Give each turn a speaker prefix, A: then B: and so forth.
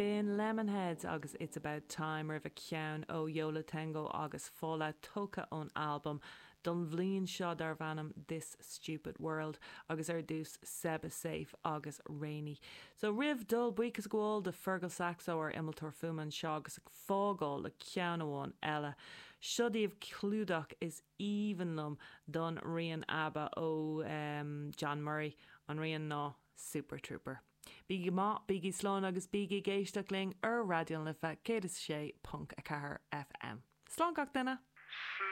A: B'in Lemonheads agus It's About Time roimhe ceann ó Yo La Tengo agus Fallout tógtha ón albam don bhliain seo darbh ainm This Stupid World agus ar dtús Seba Safe agus Rainy. So roimh dul buíochas a ghabháil do Fergal Saxo ár innealtóir fuaime anseo agus ag fágáil le ceann amháin eile. Seo daoibh clúdach is aoibhinn liom don rian ABBA ó John Murray, an rian ná Super Trooper. Bígí go maith, bígí slán agus bígí ag éisteacht linn ar Raidió na Life 106.4 FM. Slán gach duine!
B: Slán.